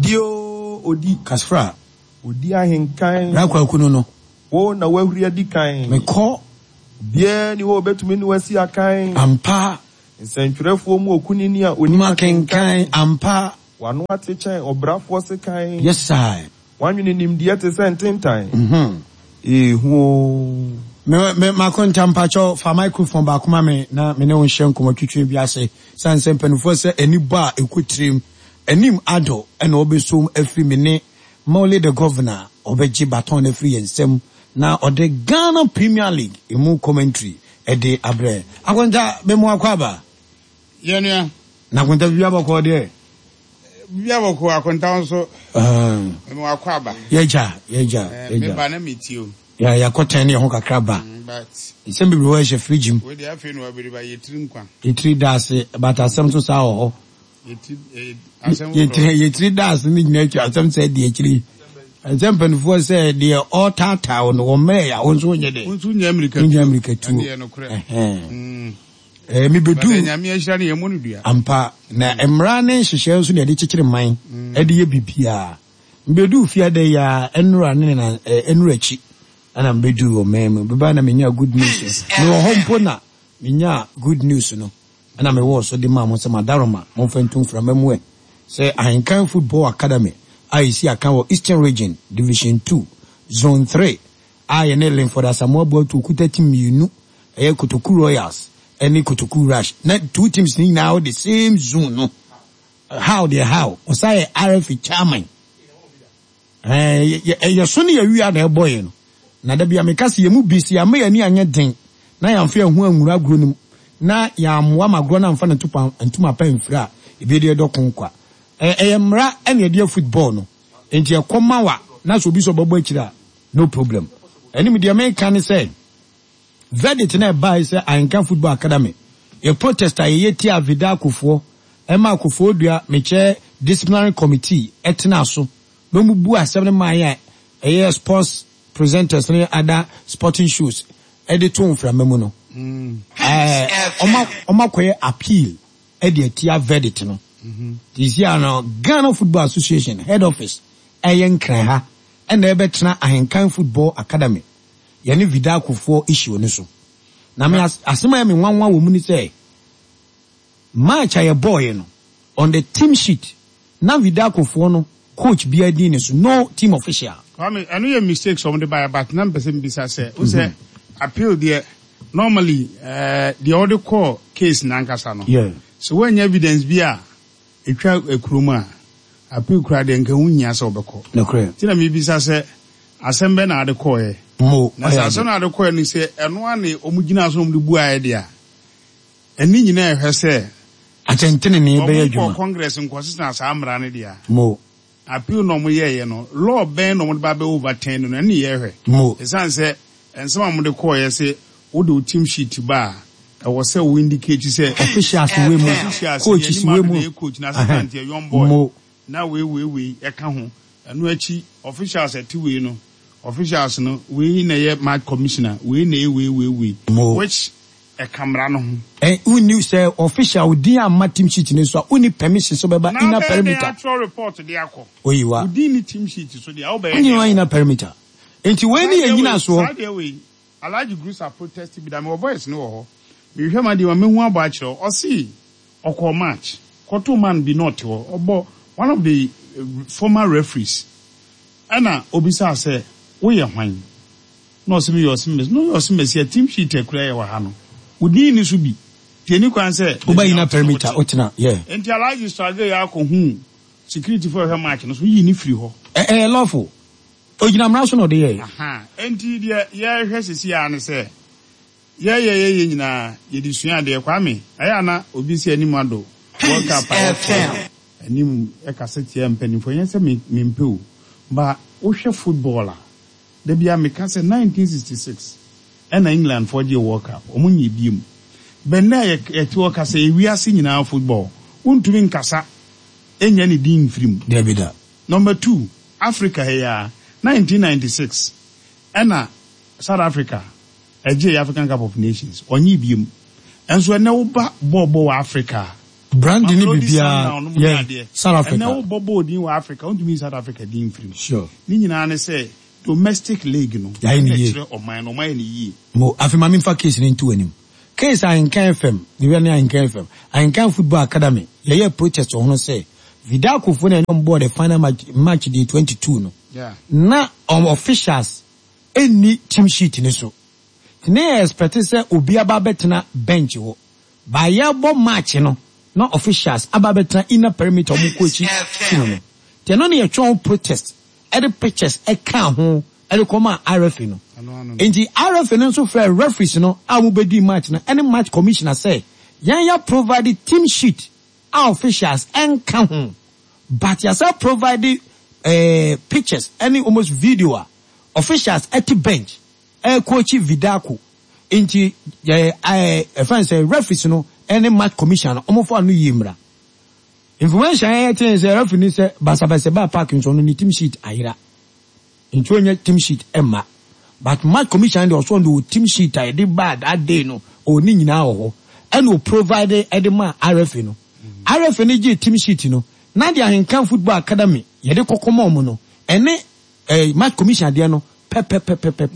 Odi oo, odi. Kasfra. Odi ahenkan. Bra Kwaku no no. Wo na woahuri adi kan. Mekɔ. Obiara nni hɔ a obetumi ne wo asi akan. Ampa. Nsɛntwerɛfoɔ mu okunini a ɔnim akenkan. Ampa. W'ano ate kyɛn ɔbrafoɔ sekan. Yes I. W'anwene nimdeɛ te sɛ ntentan. Ehu oo. Me me Makonta mpakyɛw fa microphone baako ma me na me ne wo nhyɛ nkɔmmɔ twitwi bi ase sane sɛ mpanimfoɔ sɛ ani bɔ a ɛkɔ tirim anim adɔ ɛna ɔbɛsom afiri me ne Molly the Governor ɔbɛgye baton no afiri yɛn nsam na ɔde Ghana Premier League emu commentary ɛde abrɛ Akonta me mo akɔ aba. Yɛ nua. Na Akonta biribi abɔkɔɔ deɛ. Biribi abɔkɔɔ Akonta nso. Me mo akɔ aba. Yɛgya yɛgya yɛgya. Me ba na me tie o. Yɛ yɛakɔ tɛn ne yɛn ho kakra ba. But. Nsɛm bebree wɔ hɔ ɛhyɛ fridge mu. Wei deɛ afei na wabere ba yɛ tiri nkwa. Yɛ tiri da ase but asɛm nso saa wɔ hɔ. Yɛ tiri da ase ne nyinaa akyi asɛm sɛ di akyiri. Ɛsɛ mpanimfoɔ sɛ deɛ ɔretaataa wo no wɔn mmerɛ yɛ a wo nso wonyɛ dɛ. Wo nso nyɛ mmirika tuo. Nyɛ mmirika tuo. Ɛndeɛ nokorɛ. Ɛɛ mebedu. Nyame ahyira no yɛ mmɔ no dua. Ampa na mmara ne nhyehyɛe nso na yɛde kyekyere man ɛde yɛ biribiara. Mebedu fie ada yi ara ɛnora ne na ɛnora akyi ɛna mebedu wɔ man mu. Beba na menya good news no. Mewɔ hɔ mpo na menya good news no. Ɛna mewɔɔ so de maa mo sɛ Madaroma momfa ntu mframa mu ɛ sɛ Ahenkan Football Academy a ɛsi akan wɔ Eastern Region, Division Two, Zone Three a yɛne Linford Asamoah Boatu okuta team mmienu, ɛyɛ Kotoku Royals ne Kotoku Rush. Na two teams no nyinaa wɔ the same zone no. How deɛ how, ɔsan yɛ RFA chairman. Ɛɛ, yɛ so ne yɛ wia na ɛbɔ yɛn no. Na da bi a meka sɛ yɛn mu bi, sɛ yɛamma yɛn ani anyɛ den na yɛamfa yɛn ho anwura agorɔ no mu, na yɛammoa ma agorɔ no amfa ne ntoma pa amfira a, ebi de yɛdɔ ko kwa. Ɛyɛ mmara na yɛde yɛ football no, enti ɛkɔ ma wa na sɛ obi sɛ ɔbɛbɔ akyire a, no problem. Ɛne deɛ meka ne sɛ, verdict no a ɛbae sɛ Ahenka Football Academy, yɛ protest a yɛyɛ tiaa Vidakofoɔ, ɛmaa Kofoɔdua mekyɛ disciplinary committee tenaa so na wɔn bu asɛm no maa yɛn a ɛyɛ sports presenters ne other sporting shows de too mframa mu no, ɛɛ wɔn akɔyɛ appeal de atia verdict no. Nti sisi a no Ghana Football Association head office ɛyɛ Nkran ha ɛna ɛbɛtena Ahenkan Football Academy yɛne Vidakofoɔ issue no so. Na me asɛm a ɛyɛ me nwanwa wɔ mu ne sɛ match a yɛbɔɔyɛ no on the team sheet Na Vidaco foɔ no coach biara din ne so, no team official. Kwame, ɛno yɛ mistakes wɔn de baeɛ but na mpɛ sɛ mbisa sɛ, wo sɛ appeal deɛ normally eh, deɛ wɔde kɔɔ case no ankasa no, Yeah. sɛ woannya evidence bi a ɛtwa kurom a, appeal koraa deɛ nka ɛho nhia sɛ wobɛkɔ. Nokorɛ. Nti na mebisa sɛ asɛm bɛn na wode kɔeɛ? Mo, Na sɛ ɔyɛ asɛm ade. no a wode kɔeɛ no sɛ ɛno ara na wɔgyinaa so na wɔde buaeɛ deɛ a, Ɛne nyinaa ɛhwɛ sɛ. Atɛntenenee bɛyɛ Wɔn adwuma. nkɔɔ congress nkɔsesa saa mmara no deɛ a. Mo. Appeal na wɔn yɛɛyɛ no, law bɛn na wɔn de ba bɛ overturn no, ɛne yɛhwɛ. Mo. Ɛsiane sɛ nsɛm a wɔn de kɔɔyɛ se wode wo team sheet ba a, ɛwɔ sɛ wo indicate sɛ. Officials wei mu, Officials, coaches yɛn wei anim mu. ado na ɛyɛ coach, na assistant yɛ young boy. Mo. Na wei wei wei ɛka ho. Ɛno akyi officials ɛte wei no, officials no wei na ɛyɛ match commissioner, wei na ɛyɛ wei wei wei. Mo. Which Ɛka mmara no ho. Ɛ, wonni, sɛ official wo din amma team sheet no so a, wonni permission sɛ wobɛba Na inner wobɛyɛ dɛn perimeter. atwerɛ report de akɔ? Oyi wa. Wo din nni team sheet so deɛ a, wobɛyɛ Wonni dɛn wɔ? inner perimeter. Enti wei Saa ne deɛ yɛn wei, nyinasoɔ. saa deɛ wei, Alhaji Grusah protest bi da, mewɔ voice no wɔ hɔ. Mehwehwɛ m'adeɛ mu a, mɛhu abɔ akyerɛ wo. Ɔse ɔkɔɔ match, kɔtoo man bi na ɔte hɔ, ɔbɔ one of the former referees, ɛna obisaa sɛ, woyɛ hwan? Na ɔse meyɛ ɔsemasi. Na ɔyɛ ɔsemasi a team sheet a ɛkura yɛ wɔ ha no, wo din nni so bi. Nti ɛni kwan sɛ Woba baabi a inner wote no perimeter, wote. wotena, yeah. Nti Alhaji struggle yɛ akɔhuu security foɔ a ɛhwɛ match no so yii no firi hɔ. Ɛ ɛyɛ lawful. Ogyina mmara so na ɔde yɛeɛ. Ahaa. Nti deɛ yɛrehwɛ seesei ara ne sɛ, yɛyɛ yɛyɛ nyinaa yɛde sua adeɛ. Kwame, ɛyɛ a na obi sɛ anim ado World Cup a yɛkɔ anim kasa tia mpanimfoɔ, ɛnyɛ sɛ me mempɛ o, but wohwɛ football a, Da biara meka sɛ 1966 ɛna England foɔ gyee world cup, ɔmo nyee biom. But nnɛ a yɛte hɔ kasa yi, wiase nyinaa football, wontumi nkasa nnya ne din mfiri mu. Dabi da. Number two, Africa ha yi ara, 1996 ɛna South Africa ɛgyee African Cup of Nations, ɔnyee biom. Nso ɛnnɛ woba bɔɔlbɔ wɔ Africa a. Brandy ne Mamelodi biribiara, Sundown nom ne yeah, adeɛ. South Africa. Ɛnɛ wobɔ bɔɔl din wɔ Africa, wontumi nyi South Africa din mfiri mu. Sure. Ne nyinaa ne sɛ domestic league no, Yɛayɛ no ɛna yie. ɛkyerɛ ɔman no, wɔayɛ no yie. Mo, afei ma memfa case no nto w'anim. Case Ahenkan FM, mewura ne Ahenkan FM, Ahenkan Football Academy, yɛyɛɛ protest wɔ ho no sɛ, Vidakofoɔ na yɛne wɔn bɔɔ the final match, match day 22 no, Yeah. na wɔn officials nni team sheet no so. Nti na yɛ expect sɛ obi aba abɛtena bench hɔ. By yɛrebɔ match no, na officials aba abɛtena inner perimeter wɔn coach team no. Nti ɛno na yɛtwerɛ ho protest de pictures kaa ho de kɔmaa RFA no. Nti RFA no nso frɛɛ referees no a wɔbɛdii match no ne match commissioner sɛ yɛn yɛ provide team sheet a officials nka ho but yɛasan provide eh, pictures ne almost video a officials te bench ɛrekɔɔkyi Vidako. Nti eh, eh, ɛfɛn sɛ referees no ne match commissioner no wɔmfa ano yie mmra. Information a yɛte ne sɛ referee no sɛ basabasa baa park nso ɔno ne team sheet ayera nti ɔnyɛ team sheet mma but match commissioner deɛ ɔsɔ no deɛ team sheet a yɛde baa that day no ɔwɔ ne nyinaa wɔ hɔ ɛna o provide ɛde maa referee no. Referee no gyee team sheet no na deɛ Ahenkan Football Academy yɛde kɔkɔ ma wɔn no ɛne eh, match commissioner deɛ no pɛpɛpɛpɛpɛ.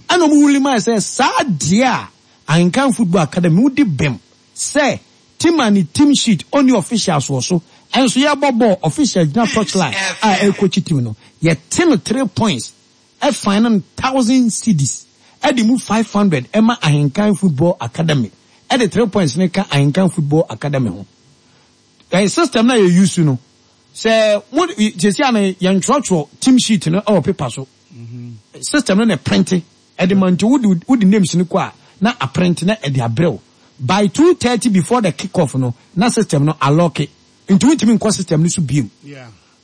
Ɛna wɔn wuli maa sɛ saa deɛ a Ahenkan Football Academy wodi bem Sɛ team a ne team sheet ɔnni officials wɔ so nso yɛbɔ bɔɔl officials gyina touch line a ɛrekɔkyi team no yɛte no three points fine no thousand cedis de mu 500 ma Ahenkan Football Academy de three points no ka Ahenkan Football Academy ho. Ɛyɛ system no a yɛ use no sɛ mo sɛsi a no yɛntwerɛtwerɛ team sheet no wɔ paper so system no na ɛprinte Ɛde ma nti wode wode names no kɔ a na aprint na ɛde abrɛ wo by 2:30 before the kick off no na system no alɔke nti wontumi nkɔ system no so biom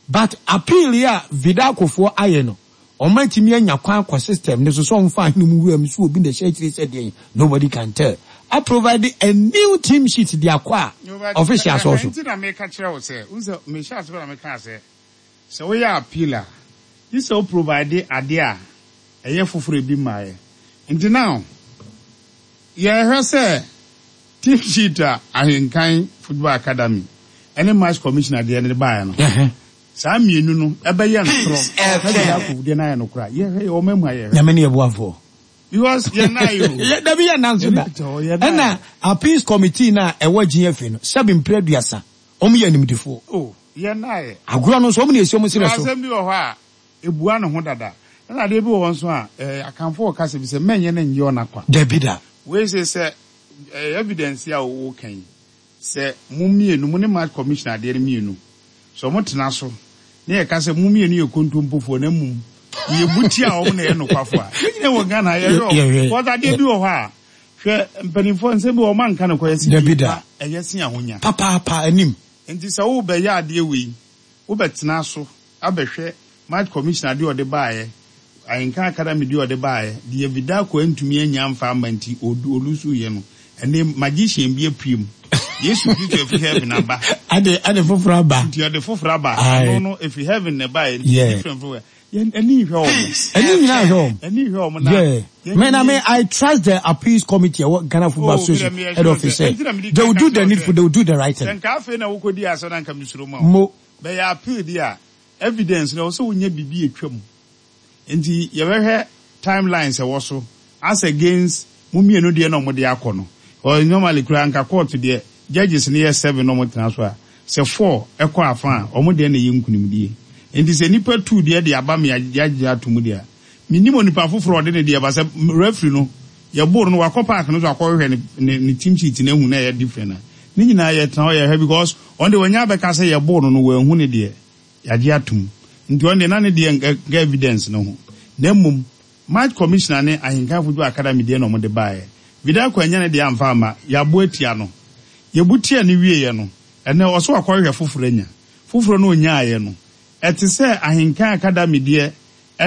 but appeal yi a Vidalco foɔ ayɛ no wɔn atumi anya kwan akɔ system no so sɛ wɔn fa ahene mu wura mu so obi na ɛhyɛ akyire sɛ deɛn nobody can tell a provide a new team sheet de akɔ a officials wɔ so. Nti na meka kyerɛ wo sɛ, wohu sɛ mehyɛ ase pɛ na mekaa sɛ Sɛ woyɛ appeal a, gye sɛ wo provide adeɛ a ɛyɛ foforɔ ebi mmaeɛ. Nti now, yɛrehwɛ sɛ team sheet a Ahenkan Football Academy ne Match Commissioner deɛ no de baeɛ no, saa mmienu no ɛbɛyɛ ntorɔ na Diako deɛ no ayɛ nokorɛ a, yɛhwɛ yɛwɔ ɔman mu a yɛhwɛ. Nyame ne yɛ boafoɔ. Because yɛn nan yɛ o. Dabi yɛn nan nso da. Ɛna appeals committee no a ɛwɔ GFA no, sɛbe mprɛ aduasa, wɔn yɛ animdefoɔ. Oh. Yɛn na ayɛ. Agorɔ no nso, wɔn na esi wɔn serɛ so. Asɛm bi wɔ hɔ a, ebua ne ho dada. Ɛna adeɛ bi wɔ hɔ nso a, eh, Akanfoɔ wɔ kasa bi sɛ, mɛnyɛ no nyɛ ɔna kwa. Dabi da. Wei se sɛ, eh, evidence yi a woka yi, sɛ mo mmienu, mo ne match commissioner adeɛ no mmienu, sɛ wɔn tena so, na yɛka sɛ mo mmienu yɛ kontompofoɔ, na mmom yɛbu tia wɔn na yɛ nokwafoɔ a, yɛn nyinaa wɔ Ghana ha, yɛhwɛ wɔn. Yɛhwɛ. Because adeɛ bi wɔ hɔ a, hwɛ, mpanimfoɔ nsɛm bi wɔ hɔ, wɔn anka nokorɛ, yɛse Dabi die da. pa, ɛyɛ sen ahonya. Papaapa, anim. Enti sɛ worebɛyɛ adeɛ wei, wobɛtena so abɛhwɛ Match Commissioner deɛ ɔde baeɛ, Ahenkan Academy deɛ ɔde baeɛ, deɛ Vidako antumi annya amfa amma nti ɔlusuiɛ no, ɛnnɛ magician bi apue mu. Yesu Kristo afiri heaven aba. Ade, ade foforɔ aba. Nti ɔde foforɔ aba. Aye. Ɛno no, ɛfiri heaven na ɛbaeɛ, nti Yeah. different from where. Yɛn ani nhwɛ wɔn. Ani nyinaa nhwɛ wɔn. Ani nhwɛ wɔn na. Yeah. Yɛn Me na me ni- I trust the appeals committee ɛwɔ Ghana Football Oh, me Association deɛ meyɛ head sure office sɛ- sɛ ɛnti na mede they will kan do ka the kyerɛ wo needful sɛ- they will do the right Sɛ thing. nka afei na wokɔdi asɛm na nka mesuro ma wo. Mo. Bɛyɛ appeal deɛ a, evidence no ɛwɔ sɛ wonya biribi atwa mu. Nti yɛbɛhwɛ timelines ɛwɔ so as against mo mmienu deɛ na wɔde akɔ no. Or normally koraa nka court deɛ judges no yɛ seven na wɔtena so a, sɛ four ɛkɔ afa a, wɔn deɛ na ɛyɛ nkunimdie. Nti sɛ nnipa two deɛ de aba me yɛagye ato mu deɛ a, mennim onipa foforɔ a ɔde ne deɛ ba sɛ referee no yɛboro no wakɔ park no so akɔhwehwɛ ne ne ne team sheet no ahu na ɛyɛ different a, ne nyinaa yɛtena hɔ yɛhwɛ because ɔno deɛ wanya abɛka sɛ yɛboro no no wanhu ne deɛ. Yɛagye atom. Nti ɔno deɛ na ne deɛ nka evidence no ho. Na mmom Match Commissioner ne Ahenkan Football Academy deɛ na wɔde baeɛ. Vidal annya ne deɛ amfa amma. Yɛabo atia no. Yɛbu tia no wieeɛ no, ɛnnɛ ɔse wakɔhwehwɛ foforɔ anya. Foforɔ no ɔnyaaeɛ no, ɛte sɛ Ahenkan Academy deɛ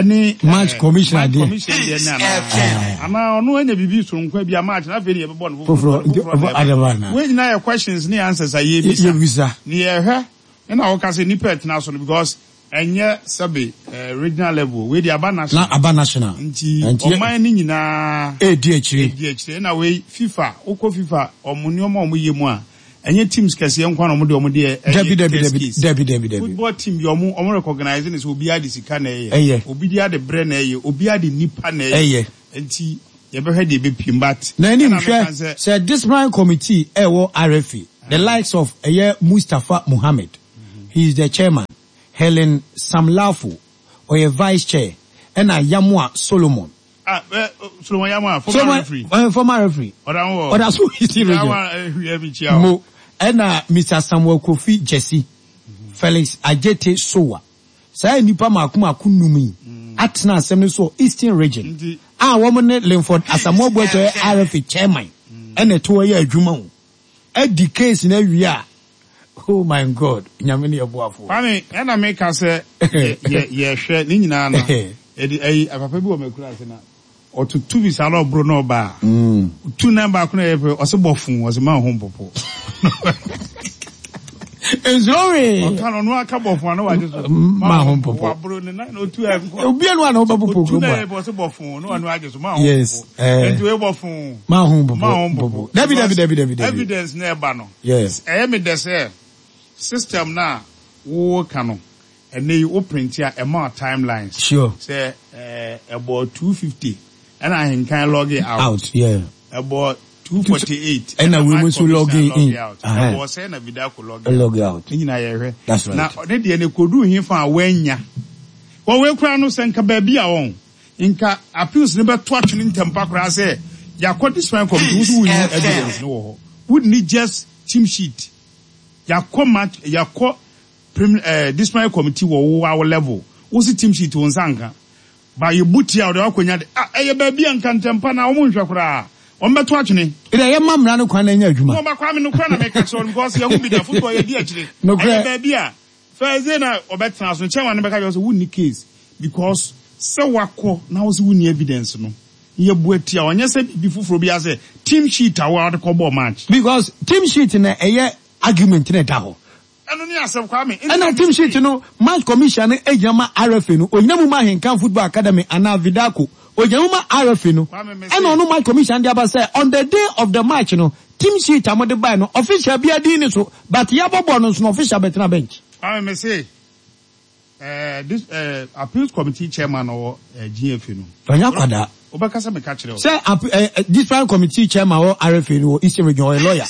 ne Match Commissioner Match deɛ. Commissioner deɛ ne anaa? Anaa ɔno anya biribi soronko a ebia Match no afei na yɛbɛbɔ no foforɔ. Foforɔ, nti Foforɔ na ɔbɔ ɛba. adaba anaa? Wei nyinaa yɛ questions ne answers a yɛrebisa. Yɛbisa. Ne yɛrehwɛ Ɛna woka sɛ nipa ɛtena so no because ɛnyɛ sɛbe regional level wei deɛ aba national. Na aba national. Nti ɔman no nyinaa. Ɛredi akyire. Ɛredi akyire ɛna wei FIFA wokɔ FIFA wɔn nneɛma a wɔn yɛ mu a. Ɛnyɛ teams kɛseɛ nko ara na wɔn de wɔn deɛ ɛyɛ Dabi dabi test dabi case. dabi dabi dabi. Football team deɛ wɔn wɔn recognize no sɛ obiara de sika na ɛyɛ. Ɛyɛ. Obi deɛ de brɛ na ɛyɛ. Obiara de nipa na ɛyɛ. Ɛyɛ. Nti yɛbɛhwɛ deɛ ɛbɛpiem but Na anim ɛna hwɛ meka sɛ. sɛ disciplinary committee ɛwɔ RFA the likes of ɛyɛ Mustapha Mohammed he is the chairman, Helen Samlafo ɔyɛ vice chair ɛna Yamoah Solomon. Ah, eh, Solomon Yamoah, former Solomon, referee. Eh, former referee. Ɔda ho wɔ. Ɔda so wɔ Eastern Region. Yamoah, eh, hwɛ mi kyia o. Mo, ɛna Mr. Samuel Kofi Gyasi, Felix Adjetey Sowah. Saa nnipa mako mako num yi atena asɛm no so wɔ Eastern Region Nti. a wɔn ne Linford Asamoah Boateng ɔyɛ RFA chairman ɛna ɛto hɔ yɛ adwuma o. Adi case no awie a, oh my God, Nyame ne yɛ boafoɔ. Kwame, ɛna me ka sɛ yɛ yɛ yɛhwɛ ne nyinaa no yɛde ɛyi papa bi wɔ m'akura ase na ɔtoto bi saa na ɔboro na ɔba a ɔtu nan baako na ɛyɛ pɛ ɔse bɔ fon ɔse ma ho mpopo. Nsuro wee. Ɔka no ɔno aka bɔ fon ano wagye so. Ma ho mpopo. Waboro ne nan na otu ɛnkɔ. Obi anu a na ɔbɛpopo Otu kurom na a. ɛyɛ pɛ ɔse bɔ fon na ɔno agye so ma ho Yes. mpopo. Eh. Nti wei bɔ fon. Ma ho mpopo. Ma ho mpopo. Dabi dabi dabi dabi dabi. Evidence na ɛba no. Yes. Ɛyɛ me dɛ sɛ system no a woka no ɛnɛ yi wo print a ɛma wo timelines. Sure. Sɛ ɛɛ ɛbɔ 2:50 ɛna ahenkan log out. Out yeah. Ɛbɔ 2:48 ɛna wei mu nso log in. Out. Ɛbɔ sɛ na Vidako log out. Log out. Ne nyinaa yɛhwɛ. That's right. Na ne deɛ no koduu he fa a wanya. Wɔ wei koraa no sɛ nka baabi a wɔn. Nka appeals no bɛto atwene ntɛmpa koraa sɛ yɛakɔ discipline committee wo so wonni evidence no wɔ hɔ. Wonni just team sheet. Yɛakɔ match yɛakɔ prim eh, disciplinary committee wɔ wo awo level. Wo se team sheet wo nsa nka. Ba yɛbu tia wo deɛ woakɔnya de ah ɛyɛ baabi a nka ntɛmpa na wɔn nhwɛ koraa. Wɔn bɛto atwene. Ɛdeɛ yɛma mmara no kwan na ɛnyɛ adwuma. No ba Kwame nokorɛ na meka kyerɛ wo no because yɛho bi da football yɛdi akyire. Nokorɛ. Ɛyɛ baabi a First day na ɔbɛtena so no chairman no bɛka kyerɛ wo sɛ wonni case because sɛ wakɔ na wo sɛ wonni evidence no yɛbu atia wo ɛnyɛ sɛ biribi foforɔ biara sɛ team sheet a wo a wode kɔbɔɔ match. Because team sheet na ɛyɛ argument na ɛda hɔ. Ɛno ne asɛm Kwame. Ɛna team sheet no match commission no gyina ma RFA no, ɔgyina mu ma Ahenkan Football Academy anaa Vidaco, ɔgyina mu ma RFA no. Ɛna ɔno match commission de aba sɛ on the day of the match no Team sheet a mode bae no official biara din nni so but yɛabɔ bɔɔl no nso no official bɛtena bench. Kwame me se eh, this eh, appeals committee chairman ɔwɔ eh, GFA no. Ɔnyɛ akwadaa. Wobɛka sɛ meka kyerɛ wo. Sɛ ap eh, eh, disciplinary committee chairman wɔ RFA no wɔ Eastern Region ɔyɛ lawyer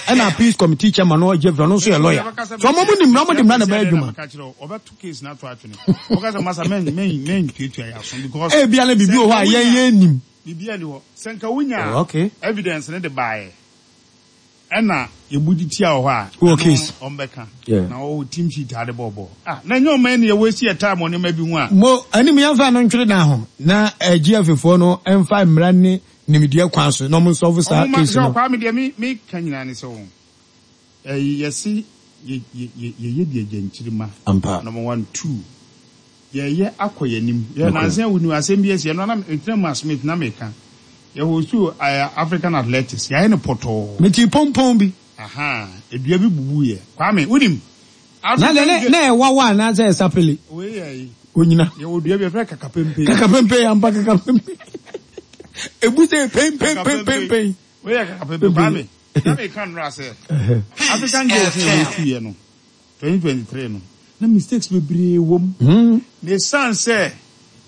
ɛna appeals committee chairman no wɔ GFA ɔno nso yɛ lawyer. So ɔmo ɔmo nim mmara ɔmo de mmara na ɛbɛyɛ adwuma. Meka kyerɛ wo ɔbɛto case no ato atwene. Wɔka sɛ masa men men men tuatua yɛ aso because. Ebia na biribi wɔ hɔ a yɛn yɛn nim. Biribiara nni hɔ. Sɛ nka wonyaa Oh, okay. evidence no de baeɛ ɛna yɛbu de tia wɔ hɔ a, Wɔ ɛno case. no wɔbɛka. Yeah. Na wɔwɔ team sheet a de bɔɔ bɔɔl. Ah, na ɛnyɛ ɔman ni yɛ waste yɛ time wɔ nneɛma bi ho a. Mo anim yɛmfa no ntwere dan ho na eh, GFA foɔ no mfa mmara ne nimdeɛ kwan so na wɔn nsɔlve saa Ɔmo ma, case hwɛ no. Kwame deɛ me me ka nyinaa ne sɛ wɔn ɛyi yɛse yɛ yɛ yɛ yɛyɛ deɛ gyankyirima. Ampa. Number one, two. Yɛreyɛ akɔ yɛn anim. Yɛ nansa yi wonim asɛm bi asi ɛno na metena mu Smith na meka. Yɛ hostu African Athletics yɛayɛ no pɔtɔɔ. Metee pɔmpɔn bi. Ahaa edua bi bubu yɛ. Kwame wonim Na deɛ ne na ɛwawa anaasɛ ɛsapele. Wei yɛ yi. Onyina. Yɛwɔ dua bi yɛfrɛ kakapempe. Kakapempe ampa kakapempe. Ebu sɛ pempempempempen. Wei yɛ kakapempe Kwame. Na meka nnora sɛ African Games na yɛ hostu yɛ no. 2023 no, na mistakes bebree wɔ mu. Na esiane sɛ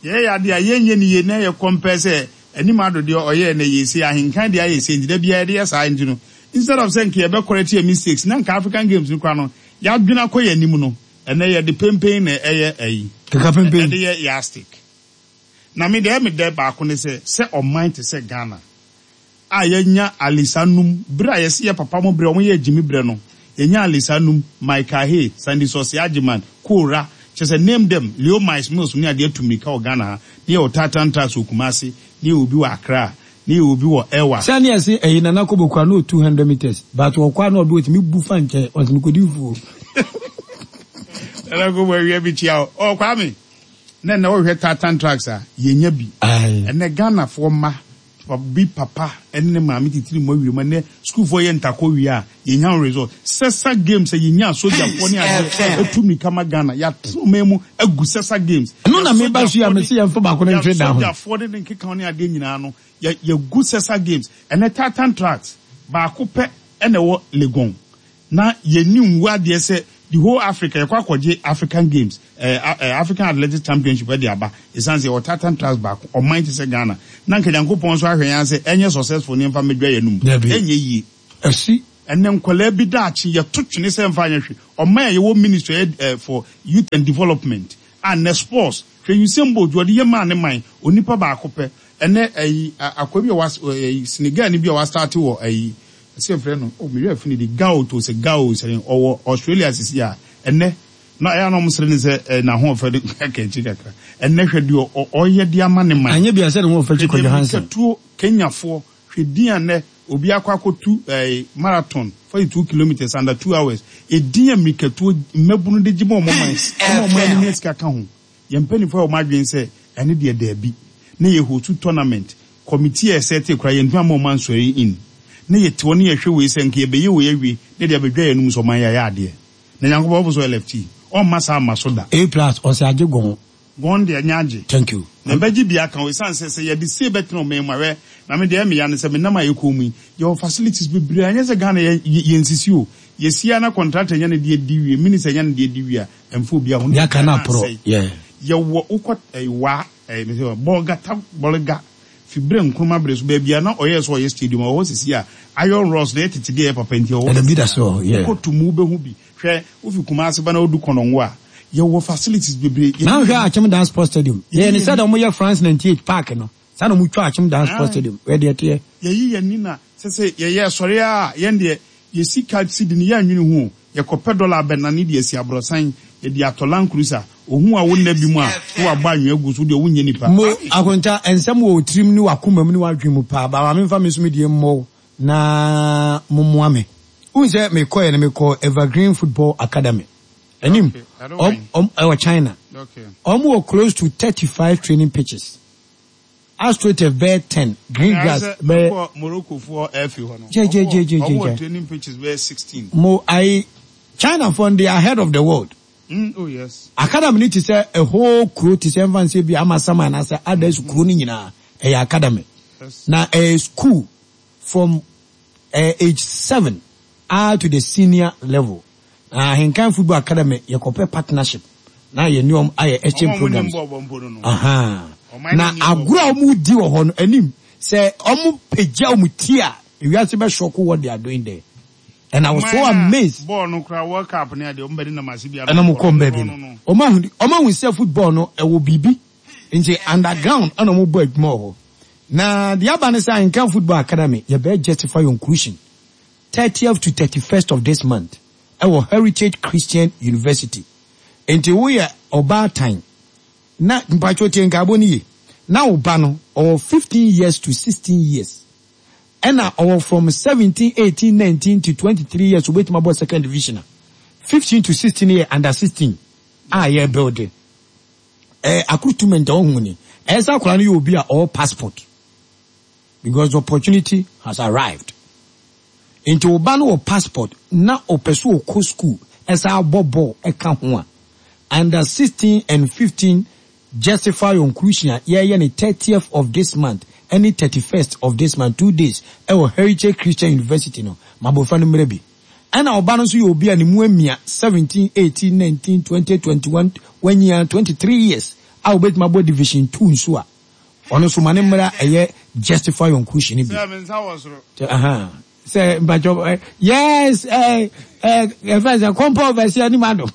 yɛyɛ ade a yɛnyɛ no yie na yɛ compare sɛ anim ado deɛ ɔyɛɛ na ɛyɛ sei, ahenkan deɛ ayɛ sei nti da biara yɛde yɛ saa nti no, instead of sɛ nka yɛbɛ correct yɛn mistakes na nka African Games no koraa no yɛadwene akɔ yɛn anim no, ɛnnɛ yɛde pempen na ɛyɛ ayi, Keka pempen. ɛde yɛ yardstick. Na me deɛ ɛyɛ me dɛ baako ne sɛ, sɛ ɔman te sɛ Ghana, a yɛanya Alisa num berɛ a yɛse yɛ papa mo berɛ wɔn yɛɛ gyimi berɛ no yɛnyaa Alisa num, Michael Hay, Sandy Sɔse Agyeman, Koora, kyerɛ sɛ name them, Leo Miles Mills ne adeɛ atu mmirika wɔ Ghana ha, ne yɛwɔ Tartan Trucks wɔ Kumasi, ne yɛwɔ bi wɔ Accra, ne yɛwɔ bi wɔ Ewa. Sɛ ne yɛse ɛyi Nana Kobo koraa na ɔtu 100 metres but ɔkɔ a na ɔde ɔtumi bu fa nkyɛn ɔse mekɔdi fufuo. Nana Kobo awia bi kyia wo. Oh Kwame, na ɛnɛ wohwɛ Tartan Trucks a, yɛnya bi. Ɛnɛ Ghanafoɔ mma Obi papa ne ne maame titiri mu awie mu ɛnɛ sukuufoɔ yɛ ntakɔ wie a yɛnya ho result. Sɛsa games a yɛnya sogyafoɔ ne adeɛ ɛtu mirika ma Ghana yɛatena ɔman mu agu sɛsa games. Ɛno na meba so yi a mese yɛmfa baako no ntwe dan ho. Yɛasogyafoɔ ne ne nkekaho ne adeɛ nyinaa no yɛgu sɛsa games. Ɛnɛ tartan tracks baako pɛ na ɛwɔ Legon. Na yɛnni nwu adeɛ sɛ the whole Africa yɛkɔ akɔgye African games eh, eh, African Athletics Championship de aba ɛsiane sɛ yɛwɔ tartan trust baako ɔman te sɛ Ghana na nka Nyankopɔn nso ahwɛ yɛn ara sɛ ɛnyɛ successful ne yɛmfa mmɛdwa yɛn anum. Dabi. Ɛnyɛ yie. Asi. Ɛnɛ nkwadaa bi daakye yɛto twene sɛ ɛmfa nyɛ hwee. Ɔman a yɛwɔ ministry a ɛyɛ eh, for youth and development a nnɛ sports hwɛ Usain Bolt deɛ ɔde yɛ maa ne man onipa baako pɛ Ɛnɛ ayi akoa bi a was ɛyi Senegalni bi a wastarte wɔ ayi ɛsɛ yɛfrɛ no oh me werɛ afi ne din Gao to sɛ Gao sɛ ɔwɔ Australia sisi a ɛnɛ na ɛyɛ a na wɔn sere ne sɛ ɛ n'ahoɔfɛ de kaka akyi kakra ɛnɛ hwɛ deɛ ɔyɛ de ama ne man Anyɛ bia sɛ ne ho ɔfɛ kyi hwɛ deɛ Kwadwo Hansen. mirikatuo Kenyafoɔ hwɛ din a nnɛ obi akɔ akɔtu ɛɛ marathon 42 kilometres under 2 hours edin a mirikatuo mmabunu de gye ma wɔn man ɛma wɔn ani nya sika ka ho. Yɛn mpaninfoɔ ayɛ wɔn adwene sɛ ɛno deɛ daabi. Na yɛ hostu tournament, committee a yɛsɛtee koraa yɛntumi amma wɔn ansɔre in. Na yɛte hɔ na yɛhwɛ wei sɛ nka yɛbɛyɛ wei awie na yɛde abɛdwa yɛn anom sɛ ɔman yi ayɛ adeɛ. Na Nyankopɔn ɔfo sɛ ɔyɛ lefty, ɔmma saa mma so da. A plus ɔsɛ agye gɔn. Gɔn deɛ ɛnyɛ agye. Thank you. Na ɛbɛgye bi aka ho ɛsiane sɛ sɛ yɛde sei bɛtena ɔman mu a hwɛ na me deɛ ɛyɛ me ya ne sɛ me nam a yɛkɔɔ mu yi yɛwɔ facilities bebree a ɛnyɛ sɛ Ghana yɛ yɛnsisi o. Yɛsi ara na contractor nya ne deɛ di wie, minister nya ne deɛ di wie a Ɛmfa obiara ho. Deɛ aka no aporɔ, yeah. Yɛwɔ wokɔ ɛyi wa ɛyi mi sɛ bɔlgata bɔlga fi berɛ Nkrumah bere so baabi a na ɔyɛɛ sɛ ɔyɛ stadium ɛwɔ hɔ sisi a iron rods na ɛyɛ tete deɛ ɛyɛ papa nti ɛwɔ hɔ Ɛna bi sisi da a so wɔ hɔ, yeah. wokɔ Tumu wobɛhu bi hwɛ wofi Kumasi ba na wodu Kɔnɔngo a yɛwɔ facilities bebree Na yɛde wohwɛ yɛn Akyem Dan Sports Stadium, yɛde yɛyɛ no yɛn sɛdeɛ wɔyɛ France 98 park no, saa na wɔtwa Akyem Dan Sports ae Stadium, hwɛ deɛ ɛteɛ. yɛyi yɛn ani na sɛ sɛ yɛyɛ sɔre a yɛn deɛ yɛ sika sidi no yɛnnwene ho o Yɛkɔpɛ dɔla abɛnane de asi abrɔsan, yɛde atɔ Land Cruiser. Ohu a wo nna bi mu a, na wabɔ anwea agu so, wo deɛ wonyɛ nipa. Mo, Akonta, nsɛm wɔ wo tirim ne w'akoma mu ne w'adwene mu paa, but ma memfa me nso me deɛ mmɔ wo na mommoa me. Wohu sɛ mekɔeɛ no, mekɔɔ Evergreen Football Academy. Anim, Okay, ɛno ɔm, wɛn? ɔm, ɛwɔ China. Okay. Wɔn wɔ close to 35 training pitches. Astroturf bɛyɛ ten, green Ɛna grass sɛ bɛyɛ. mekɔ Morocco foɔ ɛfi hɔ no, Gya gya ɔmo gya wɔ gya ɔmo gya wɔ gya. training pitches bɛyɛ 16. Mo ayi China foɔ no they are ahead of the world. Oh yes. Academy no te sɛ a whole kuro te sɛ ɛmfa nsɛ bi Amasaman anaasɛ others kuro no nyinaa ɛyɛ academy. Yes. Na ɛyɛ school from eh, age 7 ah to the senior level. Na Ahenkan Football Academy yɛkɔpɛ partnership na yɛne wɔn ayɛ exchange Wɔn a wɔn nim programs. bɔɔl bɔ mpo no no. Ahaa. Ɔman no Na nim bɔɔl agorɔ bɔ. a wɔredi wɔ hɔ no anim sɛ wɔpagya wɔn ti a ewiase bɛ shock what they are doing there. And I was so Ɔman no a amazed. bɔɔl no koraa World Cup ne adeɛ wɔn bɛde nam ase biara Ɛna na wɔn wɔn kɔ kɔ baabi no no. no. Wɔn ahu wɔn ahu sɛ football no ɛwɔ biribi nti underground ɛna wɔn bɔ adwuma wɔ hɔ. Na deɛ aba ne sɛ Ahenkan Football Academy yɛbɛyɛ justify your inclusion 30th to 31st of this month ɛwɔ Heritage Christian University. Nti woyɛ ɔbaatan na mpakyɛw tie nkaebɔ no yie na wo ba no ɔwɔ 15 years to 16 years ɛna ɔwɔ from 17, 18, 19 to 23 years obetumi abɔ second division a 15 to 16 yɛ under 16 a yɛ build Eh accruitment a wohu ni. Ɛyɛ sɛ akwadaa no yɛ obi a ɔwɔ passport because the opportunity has arrived. Nti wo ba no wɔ passport na ɔpɛ sɛ ɔkɔ school ɛsan abɔ bɔɔl ɛka ho a, under 16 and 15 justify your inclusion a yɛyɛ no 30th of this month ɛne 31st of this month, 2 days ɛwɔ Heritage Christian University no, ma abɔfra no mmra bi. Ɛna ɔba no nso yɛ obi a ne mu amia, 17, 18, 19, 20, 21, wanyin ara, 23 years a obetumi abɔ division two nso a, ɔno nso ma ne mmra ɛyɛ justify your inclusion no bi. Sɛ me nsa wɔ soro. Sɛ, aha, sɛ mpakyɛw, eh, yes, eh, eh, ɛfɛ sɛ kɔmpɔ ɔbɛsi anim ado.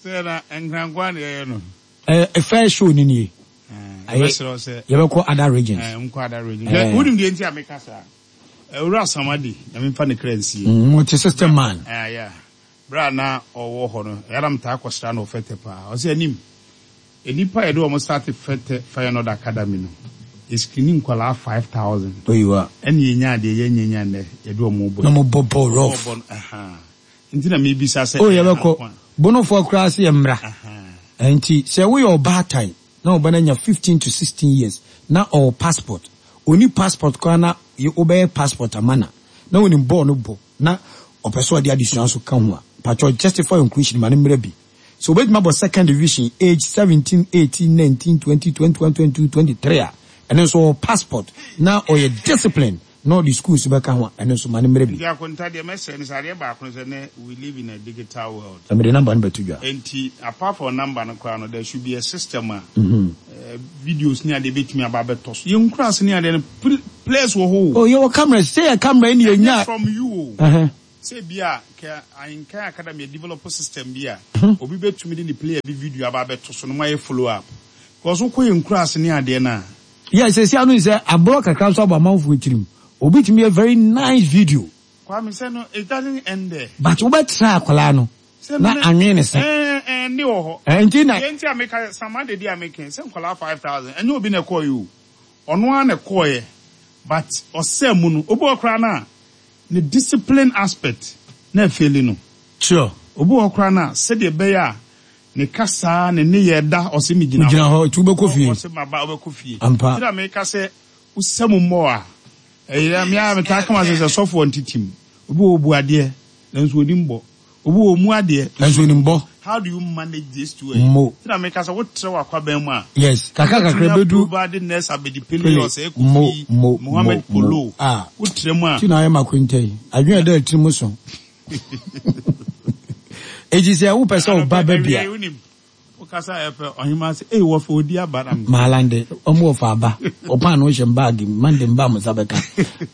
Sɛ na nkrankoa na yɛyɛ no. Eh, first show ni nie. Eh, yɛbɛsrɛ wo sɛ. Yɛbɛkɔ other regions. Eh, nkɔ other regions. Eh. Wonim deɛ nti a meka saa? Owura Samadi, Nyame mfa ne kra nsie. Multi system man. Eh, yeah. Berɛ a na ɔwɔ hɔ no, ɛyɛ a na metaa kɔsra no wɔ Fɛtɛ paa. Ɔse, Anim, nnipa a yɛde wɔn starte Fɛtɛ Feyenoord Academy no, yɛ screening nkwadaa 5,000. Oyiwa. Ɛna yɛnyaa deɛ yɛnyɛ nya nnɛ, yɛde wɔn rebɔ Na yi. wɔbɔ bɔɔl rough. Wɔbɔ no, ahaa. Nti na mebisa sɛ, Oh, ɛyɛ ha yɛbɛkɔ. nko a? Bonofoɔ koraa se yɛmmra. Ahaa. Nti sɛ woyɛ ɔbaatan na wo ba no anya 15 to 16 years na ɔwɔ passport, ɔnni passport koraa na wobɛyɛ passport ama no a, na ɔnim bɔɔl no bɔ na ɔpɛ sɛ ɔde adesua nso ka ho a, mpakyɛw justify your inclusion ma no mmra bi. Sɛ ɔbɛtumi abɔ second division age 17, 18, 19, 20, 21, 22, 23 a, ɛno nso ɔwɔ passport na ɔyɛ disciplined. na ɔde sukuu nso bɛka ho a, ɛno nso ma no mmrɛ bi. Nti Akonta, deɛ mɛsrɛ ne sɛ, adeɛ baako ne sɛ, nnɛ we live in a digital world. Na mede number no bɛto dwa. Nti apart from number no koraa no, there should be a system a videos ne adeɛ bɛtumi aba abɛtɔ so. Yɛn nkuraase ne adeɛ no, players wɔ hɔ o. Oh, yɛwɔ cameras, sɛ yɛ camera yi na yɛnya. Ɛnyɛ from you o. Sɛ ebia kɛ Ahenkan Academy adevelop system bi a, obi bɛtumi de ne player bi video aba abɛto so na moayɛ follow up. Because wokɔ yɛn nkuraase ne adeɛ no a. Yeah, seesei ano sɛ aborɔ kakra nso abɔ amanfoɔ tirim. Obi tumi yɛ very nice video. Kwame sɛ no it doesn't end there. But wobɛtra akwadaa no na anwene ne se. Ɛɛ ɛnde wɔ hɔ. Ɛɛ nti na. Deɛ nti a meka Sam Adedi a meka yi sɛ nkwadaa 5000 ɛnyɛ obi na ɛkɔɔeɛ o. Ɔno ara na ɛkɔɔeɛ but ɔsɛɛ mu no obi wɔ hɔ koraa no a Ne discipline aspect na ɛfeeli no. Sure. Obi wɔ hɔ koraa no a, sɛdeɛ ɛbɛyɛ a ne kasaa, ne nneyɛɛ da, ɔse megyina hɔ. Wogyina hɔ, nti wobɛkɔ fie. Ɔse maba, wobɛkɔ fie. Ampa. Nti na meka sɛ, wosa mu mmɔ a, ɛyɛ, me ara metaa ka m'asɛm sɛ, sɔfoɔ ntetem. Obi wɔ hɔ ɔbu adeɛ, nanso ɔnim bɔ. Obi wɔ ɔmmu adeɛ. Nanso ɔnim bɔ. How do you manage these two? Mo. Nti na meka sɛ, wotrɛ w'akwaban mu a. Yes, kakra kakra Wobɛtumi ɛbɛdu. aprovide nurse Abedi Pele, Pele, Osei mo, Kofi, mo, Mohammed mo, mo. Polo. Ah. Wotrɛ mu a. Ti na ayɛ m'akwanta yi. Adwene a ɛda tirim so. Enti sɛ wopɛ sɛ wo ba ba bi a. Anɔpa, awia yi wonim, Wokasa a ɛpɛ ɔhemaa sɛ ei wɔfa odi aba na me. Maalande ɔmo wɔfa aba wɔ paano hyɛ me bag mu mande mba a mo nsa bɛka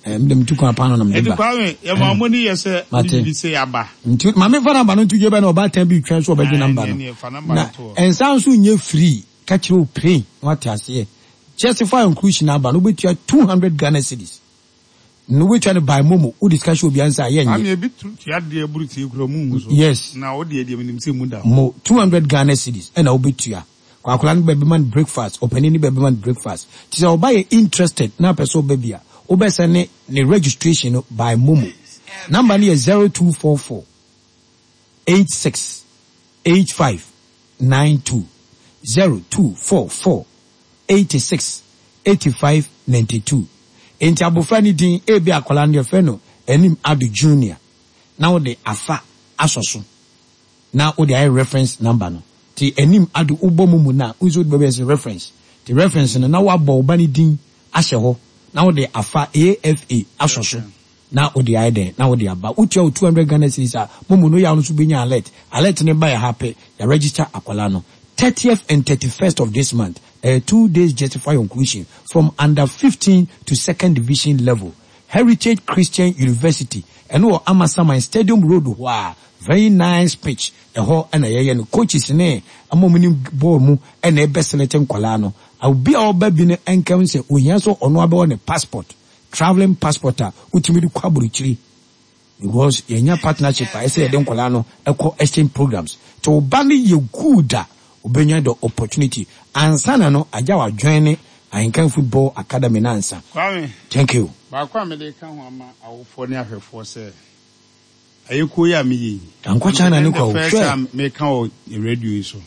eh mede metu kwan paano na mede Enti ba Kwame yɛma eh ɔmo ani yɛ sɛ wode mate biribi sei aba. Nti ma memfa number no nto dwa ebia na ɔbaatan bi retwɛn so ɔbɛgye Ae number ɛneɛ no neɛ fa number na no to hɔ. nsa nso nyɛ free ka kyerɛ wo pray na wate aseɛ Justify inclusion aba no wobɛtua 200 Ghana cedis. No wobɛtua no by momo wode sika hyɛ obia nsa a yɛnnye. Maame ebi tu tua deɛ buru tie kura ɔmo nhu so. Yes. Na wo deɛ deɛ menim sɛ emu da hɔ. Mo 200 Ghana cedis ɛna wobɛtua. Kɔ akwadaa no bɛbɛma no breakfast, ɔpanin no bɛbɛma no breakfast. Nti sɛ ɔba yɛ interested na apɛ sɛ ɔba bi a, wobɛsɛne ne registration no by momo. Number no yɛ 0244 86 85 92, 0244 86 85 92. Enti abofra no din, ebia akwadaa no yɛfrɛ no Anim Ado Junior, na wode afa asɔ so na wode ayɛ reference number no. Nti Anim Ado wobɔ mo mu no a, wohu sɛ wode bɛbɛyɛ sɛ reference. Nti reference no na woabɔ wo ba no din ahyɛ hɔ na wode afa AFA asɔ so. Na wode ayɛ dɛn? Na wode aba. Wotua wo 200 Ghana cedis a, momo no yaw no nso bɛnya alert. Alert no ba yɛ ha pɛ, yɛ register akwadaa no. 30th and 31st of this month, ɛyɛ two days justify your inclusion from under 15 to second division level. Heritage Christian University, ɛno wɔ Amasaman Stadium Road hɔ a, very nice pitch, ɛhɔ na yɛyɛ no. Coaches ne wɔn a wɔnim bɔɔl mu na ɛbɛ select nkwadaa no. Obi a ɔba bi no nka hu sɛ ohia sɛ ɔno abɛwɔ ne passport. Travelling passport a wotumi de kɔ abrokyire because yɛnya partnership a ɛsɛ yɛde nkwadaa no kɔ exchange programs nti wo ba no yɛ good a obenya the opportunity ansa na no agya wa join Ahenkan football academy no ansa. Kwame, Thank you. baako a mede reka ho ama awofoɔ ne ahwɛfoɔ sɛ, Ayekuo yi a meyɛ yi, Ankɔ China ne ɛnyɛ kwa the o, first hwɛ. time meka wɔ radio yi so.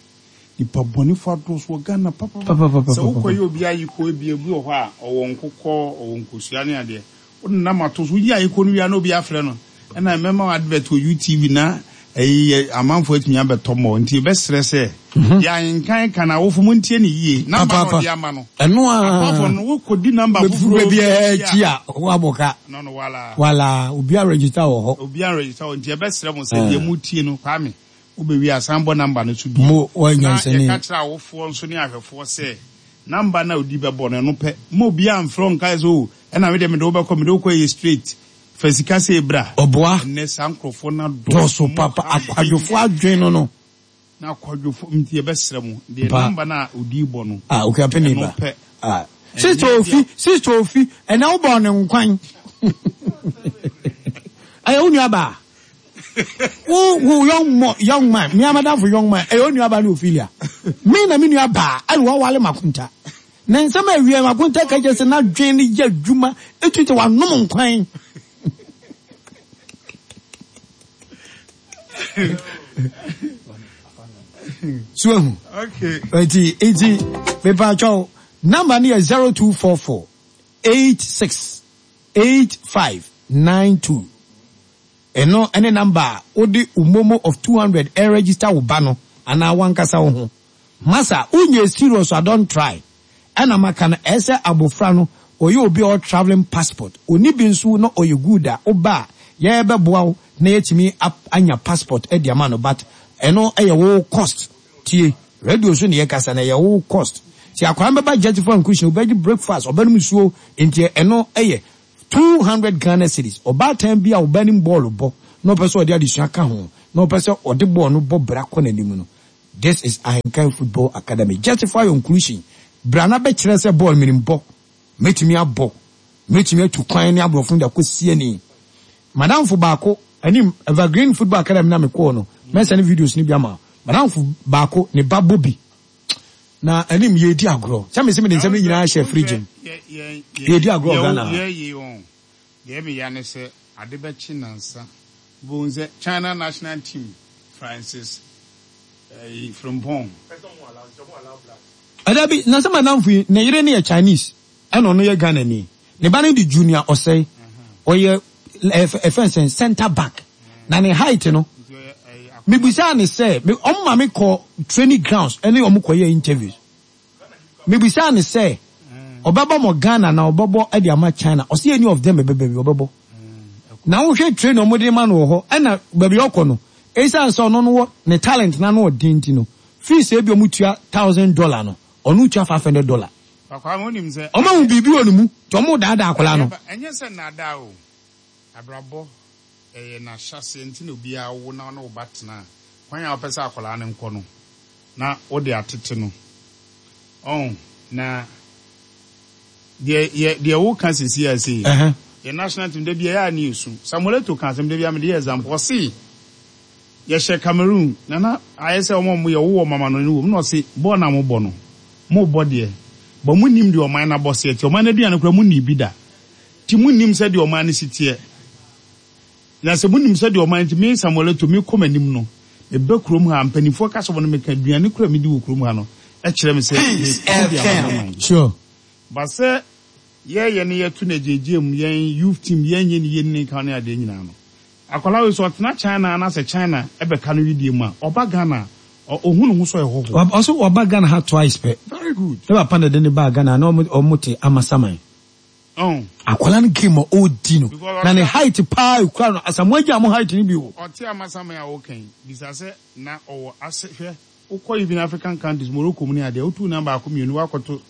Nipa bɔnefo adɔɔso wɔ Ghana papapapa. Papapapapa. Sɛ wokɔyɛ obi ayekuo ebia obi wɔ hɔ a ɔwɔ nkokɔ, ɔwɔ nkosua ne adeɛ. Wode nam ato so, woyi ayekuo no wie a na obi afrɛ no, ɛna mɛma wo advert wɔ UTV na ɛyi yɛ amanfoɔ atumi abɛtɔ mmɔ. Nti yɛbɛsrɛ sɛ deɛ ahenkan ka no awofo montie no yie. Number no a Papaapa. ɔde ama no, Ɛno ara. apart from no wokɔdi number Bɛfiri foforɔ bi baabiara akyi akyi a, a, woabɔ ka. no no wala. Wala, obiara register wɔ hɔ. Obiara register wɔ nti yɛbɛsrɛ mo sɛ deɛ motie no, Kwame, wobɛwie a san bɔ number no so bio. Mo, woayɛ Na nyansani. yɛka kyerɛ awofoɔ nso ne ahwɛfoɔ sɛ number no a odi bɛbɔ no ɛno pɛ. Mma obiara mfrɛ wo nka sɛ oh ɛna me deɛ mede wo bɛkɔ, mede wo kɔ ɛyɛ straight. Fa sika sei bra. Ɔboa. Ɛnnɛ saa nkorɔfoɔ no adɔɔso. Dɔɔso papa, akwadwofoɔ adwene no no. Na akwadwofo nti yɛbɛsrɛ mo, deɛ Pa. number no a odi bɔ no, Ah, Okuapeni ɛno ba. pɛ. Ah. Ɛnyɛ Sister deɛ Ofi, Sister Ofi, ɛnɛ wobɔɔ no nkwan. Ɛyɛ wo nua baa. Wo wo young mo young man, me amadamfo young man, ɛyɛ wo nua baa ne Ophelia. Me na me nua baa, ɛna wawale makonta. Na nsɛm a awia makonta ka kyerɛ sɛ n'adwene no yɛ adwuma, etu sɛ wanom nkwan. So ahu? Okay. Nti nti mepatwɛw number no yɛ 0244 86 85 92. Ɛno ɛne number a wode wo momo of 200 ɛregister wo ba no anaa wankasa wo ho. Masa wonyɛ serious a don't try. Ɛna maka no ɛsɛ abofra no. Ɔyɛ obi a ɔwɔ travelling passport. Ɔnni bi nso na ɔyɛ good a, woba a, yɛbɛboa wo na yɛatumi anya passport de ama no but ɛno yɛ wo cost. Tie, radio so na yɛkasa no, ɛyɛ wo cost. Nti akwadaa no bɛba Justify Inclusion, ɔbɛgye breakfast, ɔbɛnom nsuo, nti ɛno yɛ 200 Ghana cedis. Ɔbaatan bi a ɔba nim bɔɔlo bɔ na ɔpɛ sɛ ɔde adesua ka ho na ɔpɛ sɛ ɔde bɔɔlo no bɔ bra kɔ n'anim no, This is Ahenkan Football Academy. Justify your inclusion. Bra na bɛkyerɛ sɛ bɔɔl menim bɔ. Mɛtumi abɔ. Mɛtumi atu kwan ne aborɔfo no de akɔsi ani. Madamfo baako, anim, Evergreen Football Academy na mekɔɔ no, mɛsɛne videos no bi ama wo. Madamfo baako, ne ba bɔ bi. Na anim, yɛredi agorɔ. Sɛ mese mede nsɛm no nyinaa hyɛ fridge mu. Yɛredi agorɔ wɔ Ghana ha. Deɛ meya ne sɛ ade bɛkye nansa wobɛhu sɛ China national team Francis ɛyi Frimpong. Dabi, na sɛ m'adamfo yi, ne yere no yɛ Chinese, ɛna ɔno yɛ Ghanani. Ne ba no de Junior Osei, ɔyɛ ɛfɛn sɛn centre back. Na ne height no, mebisaa no sɛ, wɔn ma me kɔ training grounds ɛne wɔn kɔyɛɛ interviews. Mebisaa no sɛ ɔbɛbɔ mɔ Ghana na ɔbɛbɔ de ama China, ɔse any of them ɛbɛba bi ɔbɛbɔ. Na wohwɛ training a wɔde ma no wɔ hɔ ɛna baabi a ɔkɔ no, esiane sɛ ɔno no wɔ ne talent no ano ɔden nti no, fees a ebi wɔtua $1,000 no, ɔno tua $500. Wɔahu biribi wɔ ne mu nti wɔredaadaa akwadaa no. Ɛnyɛ sɛ nnaadaa o, abrabɔ ɛyɛ n'ahyɛaseɛ nti na obiara wo na ɔne wo ba tena a, kwan a wopɛ sɛ akwadaa no nkɔ no, na wode atete no. Ɔho, na deɛ yɛ deɛ woka sisi a sei, yɛ national team da bi ɛyɛ a ne yɛsu. Samuel Eto'o ka asɛm da bi a mede yɛ example, ɔse yɛhyɛ Cameroon na na ayɛ sɛ wɔn a wɔyɛ wowɔ mama no ne wɔ mu na ɔse bɔɔl no a mobɔ no, mobɔ deɛ, but monnim deɛ ɔman no abɔseɛ teɛ, ɔman no aduane koraa monnii bi da, nti monnim sɛdeɛ ɔman no si teɛ. Na sɛ monim sɛdeɛ ɔman nti me Samuel Eto'o mekɔ m'anim no, meba kurom ha a, mpanimfoɔ ka sɛ wɔne me ka, aduane koraa a medi wɔ kurom ha no kyerɛ me sɛ meko de ama me man. Sure. But sɛ yɛyɛ na yɛto no agyeagyea mu, yɛn youth team yɛnyɛ ne yie ne ne nka ne adeɛ nyinaa no, akwadaa wei sɛ ɔtena China anaasɛ China bɛka no wedeɛ mu a, ɔba Ghana a, ɔhu ne ho sɛ ɔyɛ hɔhoɔ. Ɔse waba Ghana ha twice pɛ. Very good. Ne papa na ɛde no baa Ghana, na wɔn te Amasaman. Akwadaa no game a ɔredi no na ne height paa ekura no Asamoah Gyan mo height no bi o. Ɔte Amasaman a woka yi bisa sɛ na ɔwɔ ase hwɛ wokɔ even African countries Morocco mu ne adeɛ wotu nan baako mmienu woakɔto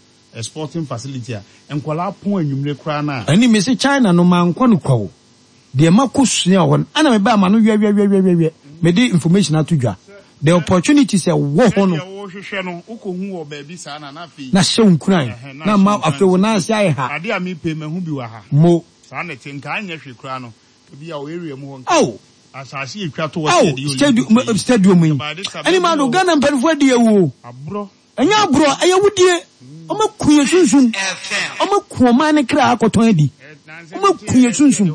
sporting facility a nkwadaa pɔn anwummere koraa no a. Ɛne mese China no mankɔ no kwa o. Deɛ makɔ sua wɔ hɔ no ɛna mebaa m'ano wɛwɛwɛwɛwɛ mede information ato dwa the opportunities ɛwɔ hɔ no Sɛdeɛ wohwehwɛ no wokɔhu wɔ baabi saa na na afei na hyɛ wo nkuran ɛhɛn na na ahyɛ ama wo nkuran afei wo sɛ nan ase ayɛ ha adeɛ a mepɛ yi mahu bi wɔ ha mo. Saa na ɛte nka anyɛ hwee koraa no nka bi a wɔ area mu hɔ nka Ao asase yɛtwa to hɔ sɛ ao yɛde yɛ stadium Olympic yi stadium yi nka by this time ɛne baabi maa no wɔ hɔ Ghana mpanimfoɔ adi awu o. aborɔ Ɛnyɛ aborɔ, ɛyɛ awudie. Wɔaku yɛn sunsum. Wɔaku ɔman no kra akɔtɔn adi. Wɔaku yɛn sunsum.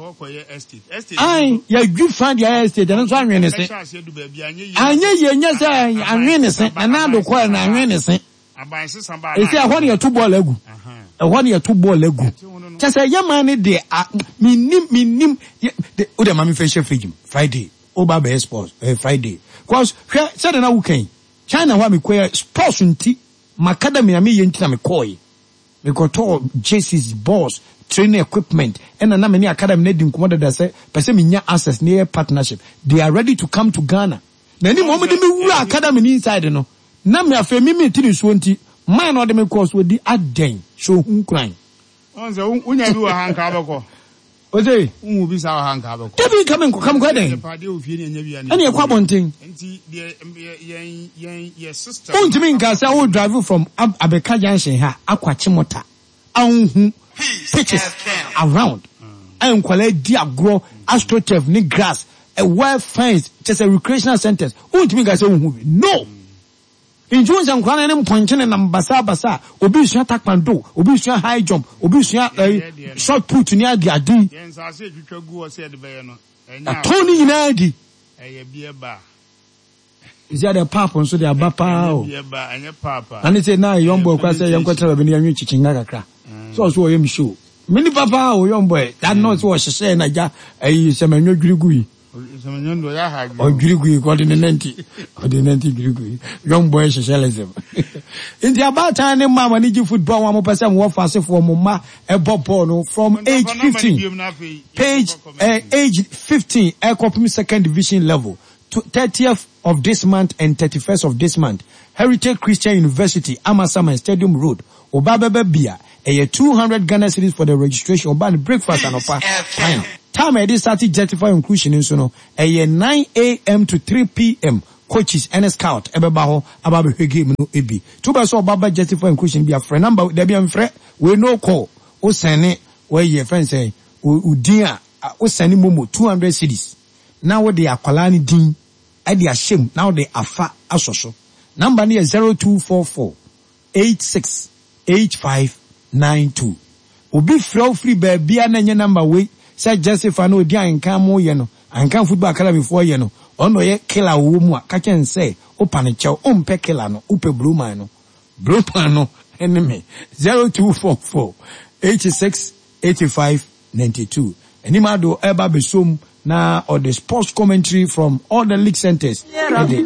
Ae, yɛadwi fa de ayɛ estate, ɛno nso anwe ne se. Anyɛ yie, nyɛ sɛ anwe ne se. Nana Addo kɔɛ no anwe ne se. Ɛsɛ ɛhɔ na yɛto bɔɔl agu. Ɛhɔ na yɛto bɔɔl agu. Kyɛ sɛ yɛ man no deɛ, mennim, mennim. Wo deɛ ma memfa nhyɛ fridge mu, Friday. Woba abɛyɛ sports, ɛyɛ Friday. Cause hwɛ sɛdeɛ na woka yi, China hɔ a mekɔɛ sports nti m'academy a meyɛ nti na mekɔɔe. Mekɔtɔɔ jerseys, balls, training equipment ɛna na me ne academy no adi nkɔmmɔ dada sɛ pɛ sɛ menya access na yɛyɛ partnership. They are ready to come to Ghana. Na anim wɔn de me wura academy no inside no na me afei me mete nsuo nti man na ɔde me kɔɔ so ɔdi adɛn hyɛ ohu nkuran. Ɔn sɛ wonya bi wɔ ha nka wobɛkɔ. Ose. Wohu bi saa wɔ ha nka wobɛkɔ. Dabi nka menkɔ, ka mekɔ dɛn? Ɛne ɛkɔ abɔnten. Nti deɛ yɛn yɛn yɛ system. Wontumi nka sɛ wo drive from Abeka junction ha akɔ Achimota a wonhu pitches around a nkwadaa di agorɔ, astroturf ne grass, well fenced, kyɛ sɛ recreational centers, wontumi nka sɛ wonhu bi. No! Nti wohu sɛ nkwadaa no ne mpɔnkye nenam basabasa a, obi resua taekwondo, obi resua high jump, obi resua ɛyi shot put ne ade ade yi. Yɛn nsaase a etwitwa gu hɔ sɛ yɛde bɛyɛ no, ɛnyɛ Yɛatɔn ne nyinaa adi. Ɛyɛ beer bar. Sisi adeɛ pap nso de aba paa o. Ɛnyɛ beer bar, ɛnyɛ pap a. Na ne sɛ na young boy kora sɛ yɛnkɔtena baabi na yɛnwe kyikyinnga kakra. Sɛ ɔso ɔyɛ me show. Me nipa paa o young boy. That na ɔsɛ ɔhyehyɛɛ na gya ɛyi sɛmɛnwɔ dwiri gu yi. Ɔdwiri gui, ɔde ne nanti, ɔde ne nanti dwiri gui. Young boy hyehyɛ lɛsɛm. Nti abaatan ne mma a mo ani gye football ho a mopɛ sɛ mowɔ fasefoɔ mo mma ɛbɔ bɔɔl no from age 15 page eh, age 15 ɛkɔpem second division level 30th of this month and 31st of this month Heritage Christian University Amasaman Stadium Road Oba bɛba bi a ɛyɛ 200 Ghana cedis for the registration ɔba no breakfast anɔpa time time a yɛde start justify inclusion nso no ɛyɛ 9am to 3pm Coaches ne scout bɛba hɔ aba abɛhwɛ game no bi. Nti wopɛ sɛ ɔba ba Justify Inclusion bi a, frɛ number wei, dabi mfrɛ wei no call, wo sɛne wayi yɛfrɛ no sɛn, wo din a, wo sɛne momo 200 cedis na wode akwadaa no din de ahyɛ mu na wode afa asɔ so. Number no yɛ 0244 86 8592. Obi frɛ wo firi baabia na ɛnyɛ number wei sɛ Jessifa na ɔdi Ahenkan mo yɛ no, Ahenkan Football Academy foɔ yɛ no, ɔno na ɔyɛ killer ɔwɔ mu a, ka kyerɛ no sɛ wopa no kyɛw, wompɛ killer no, wopɛ Blue-man no. Blue-man no ne me. 0244 86 85 92. Anim Addo ɛreba abɛsom na ɔde sports commentary from all the league centres de.